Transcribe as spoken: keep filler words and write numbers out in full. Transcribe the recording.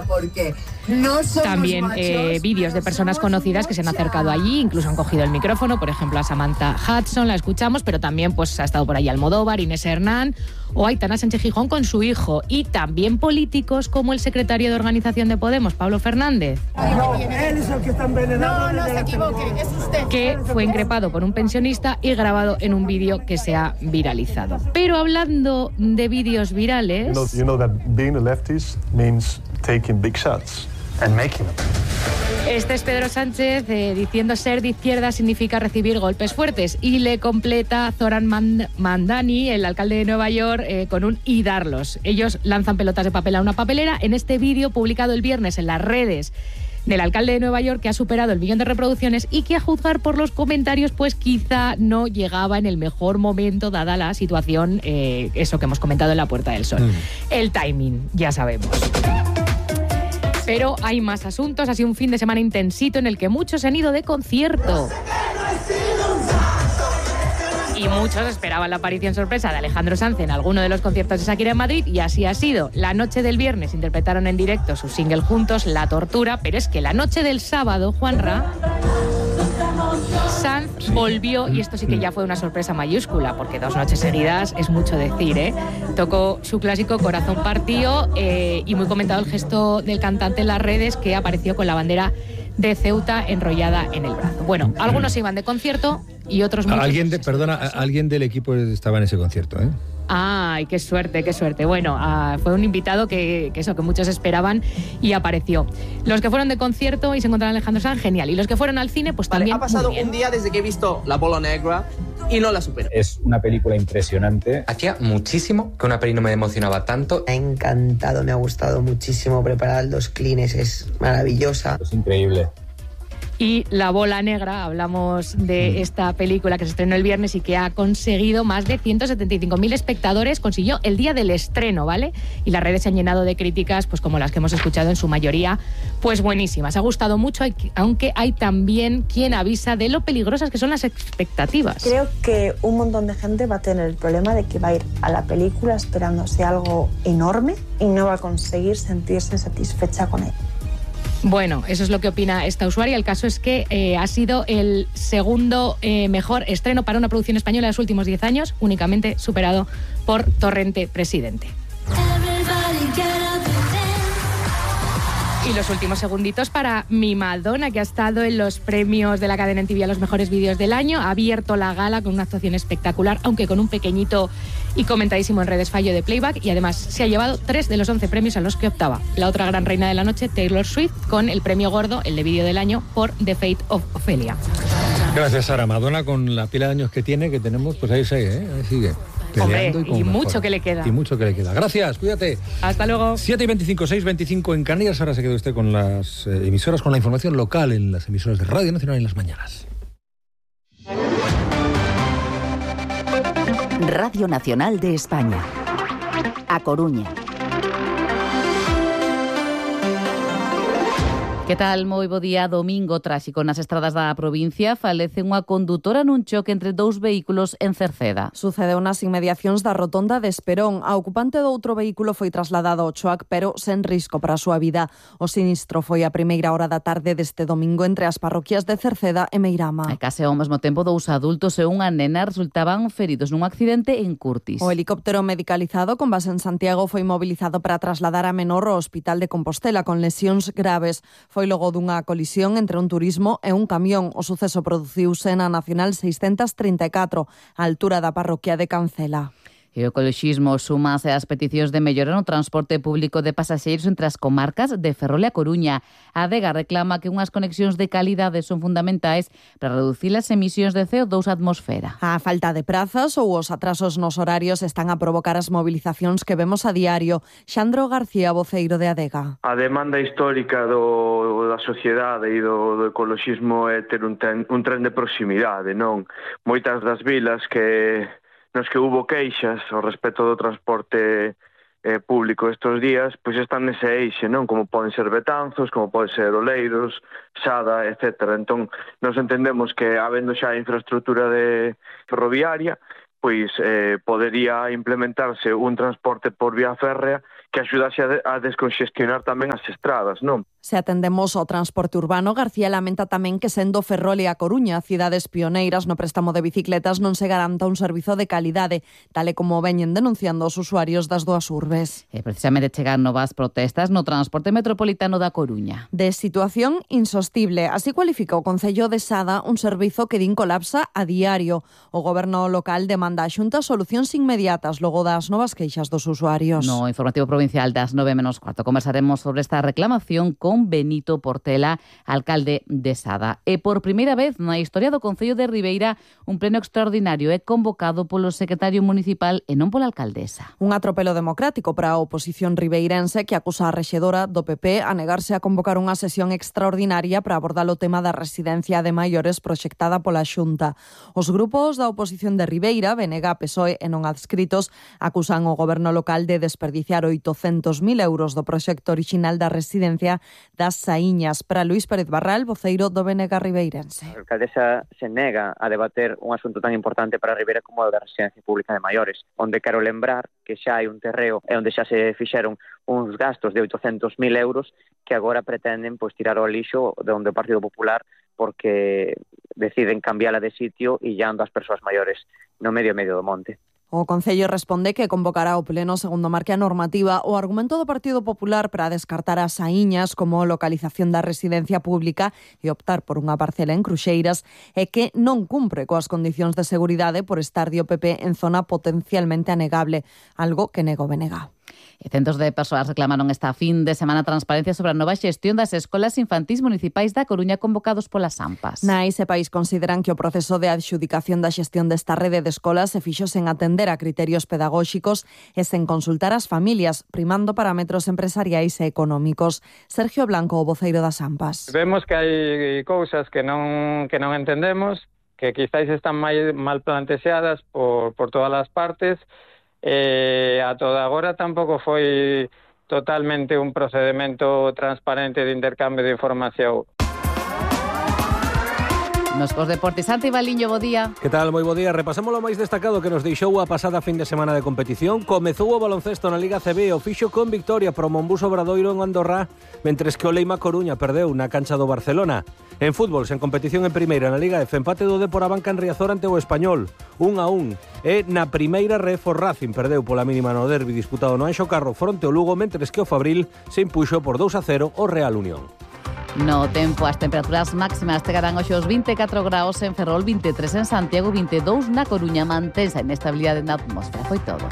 Porque no También eh, vídeos de personas conocidas que se han acercado allí, incluso han cogido el micrófono, por ejemplo a Samantha Hudson, la escuchamos, pero también pues ha estado por ahí Almodóvar, Inés Hernán o Aitana Sánchez Gijón con su hijo, y también políticos como el secretario de organización de Podemos, Pablo Fernández. No, él es el que está envenenado. No, no se equivoque, es usted. Que fue increpado por un pensionista y grabado en un vídeo que se ha viralizado. Pero hablando de vídeos virales... You know, you know that being a leftist means taking big shots and making them. Este es Pedro Sánchez eh, diciendo ser de izquierda significa recibir golpes fuertes, y le completa Zoran Mand- Mandani, el alcalde de Nueva York, eh, con un y darlos. Ellos lanzan pelotas de papel a una papelera en este vídeo publicado el viernes en las redes del alcalde de Nueva York, que ha superado el millón de reproducciones y que, a juzgar por los comentarios, pues quizá no llegaba en el mejor momento dada la situación, eh, eso que hemos comentado en la Puerta del Sol. Mm. El timing, ya sabemos. Pero hay más asuntos. Ha sido un fin de semana intensito en el que muchos se han ido de concierto. Y muchos esperaban la aparición sorpresa de Alejandro Sanz en alguno de los conciertos de Shakira en Madrid, y así ha sido. La noche del viernes interpretaron en directo su single juntos, La Tortura, pero es que la noche del sábado, Juanra, Sanz volvió, y esto sí que ya fue una sorpresa mayúscula, porque dos noches seguidas es mucho decir, ¿eh? Tocó su clásico Corazón Partido, eh, y muy comentado el gesto del cantante en las redes, que apareció con la bandera de Ceuta enrollada en el brazo. Bueno, algunos se iban de concierto y otros muchos... Alguien de, perdona, alguien del equipo estaba en ese concierto, ¿eh? Ay, qué suerte, qué suerte. Bueno, uh, fue un invitado que, que eso, que muchos esperaban, y apareció. Los que fueron de concierto y se encontraron a Alejandro Sanz, genial. Y los que fueron al cine, pues vale, también. Ha pasado muy bien. Un día desde que he visto La Bola Negra y no la supero. Es una película impresionante. Hacía muchísimo que una peli no me emocionaba tanto. Me ha encantado, me ha gustado muchísimo. Preparar los clines es maravillosa. Es increíble. Y La Bola Negra, hablamos de esta película que se estrenó el viernes y que ha conseguido más de ciento setenta y cinco mil espectadores, consiguió el día del estreno, ¿vale? Y las redes se han llenado de críticas, pues como las que hemos escuchado, en su mayoría, pues buenísimas. Ha gustado mucho, aunque hay también quien avisa de lo peligrosas que son las expectativas. Creo que un montón de gente va a tener el problema de que va a ir a la película esperándose algo enorme y no va a conseguir sentirse satisfecha con él. Bueno, eso es lo que opina esta usuaria. El caso es que eh, ha sido el segundo eh, mejor estreno para una producción española de los últimos diez años, únicamente superado por Torrente Presidente. Y los últimos segunditos para mi Madonna, que ha estado en los premios de la cadena M T V a los mejores vídeos del año. Ha abierto la gala con una actuación espectacular, aunque con un pequeñito y comentadísimo en redes fallo de playback, y además se ha llevado tres de los once premios a los que optaba. La otra gran reina de la noche, Taylor Swift, con el premio gordo, el de vídeo del año, por The Fate of Ophelia. Gracias, Sara. Madonna, con la pila de años que tiene, que tenemos, pues ahí sigue, ¿eh? Ahí sigue. Hombre, y, y mucho que le queda. Y mucho que le queda. Gracias, cuídate. Hasta luego. siete y veinticinco, seis y veinticinco en Canarias. Ahora se queda usted con las eh, emisoras, con la información local en las emisoras de Radio Nacional en las mañanas. Radio Nacional de España. A Coruña. Que tal? Moi bo día. Domingo tráxico nas estradas da provincia. Falece unha condutora nun choque entre dous vehículos en Cerceda. Sucedeu nas inmediacións da rotonda de Esperón. A ocupante do outro vehículo foi trasladado ao choac, pero sen risco para a súa vida. O sinistro foi a primeira hora da tarde deste domingo entre as parroquias de Cerceda e Meirama. E case ao mesmo tempo, dous adultos e unha nena resultaban feridos nun accidente en Curtis. O helicóptero medicalizado con base en Santiago foi mobilizado para trasladar a menor ao Hospital de Compostela con lesións graves. Foi logo dunha colisión entre un turismo e un camión. O suceso produciuse na Nacional seiscentos trinta e catro, á altura da parroquia de Cancela. E o ecoloxismo súmase ás peticións de mellora no transporte público de pasaxeiros entre as comarcas de Ferrol e a Coruña. A Adega reclama que unhas conexións de calidade son fundamentais para reducir as emisións de C O dos á atmosfera. A falta de prazas ou os atrasos nos horarios están a provocar as movilizacións que vemos a diario. Xandro García, voceiro de Adega. A demanda histórica do, da sociedade e do, do ecoloxismo é ter un tren, un tren de proximidade, non? Moitas das vilas que nos que hubo queixas ao respecto do transporte eh, público estes días, pois están nese eixe, non? Como poden ser Betanzos, como poden ser Oleiros, Sada, etcétera. Entón, nos entendemos que, habendo xa infraestructura de ferroviaria, pois eh, podería implementarse un transporte por vía férrea que axudase a, de, a desconxestionar tamén as estradas, non? Se atendemos ao transporte urbano, García lamenta tamén que sendo Ferrol e A Coruña cidades pioneiras no préstamo de bicicletas non se garanta un servizo de calidade, tal e como veñen denunciando os usuarios das dúas urbes. E precisamente chegan novas protestas no transporte metropolitano da Coruña. De situación insostible, así cualifica o Concello de Sada un servizo que din colapsa a diario. O goberno local demanda a Xunta solucións inmediatas logo das novas queixas dos usuarios. No informativo provincial das nove menos cuarto conversaremos sobre esta reclamación con Benito Portela, alcalde de Sada. E por primeira vez na historia do Concello de Ribeira, un pleno extraordinario é convocado polo secretario municipal e non pola alcaldesa. Un atropelo democrático para a oposición ribeirense que acusa a rexedora do P P a negarse a convocar unha sesión extraordinaria para abordar o tema da residencia de maiores proxectada pola Xunta. Os grupos da oposición de Ribeira, B N G, P S O E e non adscritos, acusan o goberno local de desperdiciar oitocentos mil euros do proxecto orixinal da residencia das Saíñas. Para Luís Pérez Barral, voceiro do B N G ribeirense. A alcaldesa se nega a debater un asunto tan importante para Ribeira como o da residencia pública de maiores, onde quero lembrar que xa hai un terreo e onde xa se fixeron uns gastos de oitocentos mil euros que agora pretenden pois tirar ao lixo de onde o Partido Popular porque deciden cambiala de sitio e llando as persoas maiores no medio medio do monte. O Concello responde que convocará o pleno segundo marque a normativa. O argumento do Partido Popular para descartar as Saíñas como localización da residencia pública e optar por unha parcela en Cruxeiras é que non cumpre coas condicións de seguridade por estar de O P P en zona potencialmente anegable, algo que nego B N G. E centos de persoas reclamaron esta fin de semana transparencia sobre a nova xestión das escolas infantís municipais da Coruña convocados polas AMPAs. Na ese país consideran que o proceso de adxudicación da xestión desta rede de escolas se fixo sen atender a criterios pedagóxicos e sen consultar as familias, primando parámetros empresariais e económicos. Sergio Blanco, o voceiro das AMPAs. Vemos que hai cousas que non que non entendemos, que quizáis están mal plantexadas por, por todas as partes. Eh, a toda agora tampouco foi totalmente un procedimento transparente de intercambio de información. Nos cos deportes, Santi Baliño, bo día. Que tal? Moi bo día. Repasamos o máis destacado que nos deixou a pasada fin de semana de competición. Comezou o baloncesto na Liga C B, o fixo con victoria pro Monbus Obradoiro en Andorra, mentres que o Leima Coruña perdeu na cancha do Barcelona. En fútbol, sen competición en primeira na Liga F, empate do Depor Abanca en Riazor ante o Español, un a un. E na primeira ref o Racing perdeu pola mínima no derbi disputado no Anxo Carro fronte ao Lugo, mentres que o Fabril se impuxo por dous a cero o Real Unión. No tempo, as temperaturas máximas chegarán hoxe os vinte e catro graus en Ferrol, vinte e tres en Santiago, vinte e dous na Coruña. Mantense a inestabilidade na atmosfera. Foi todo.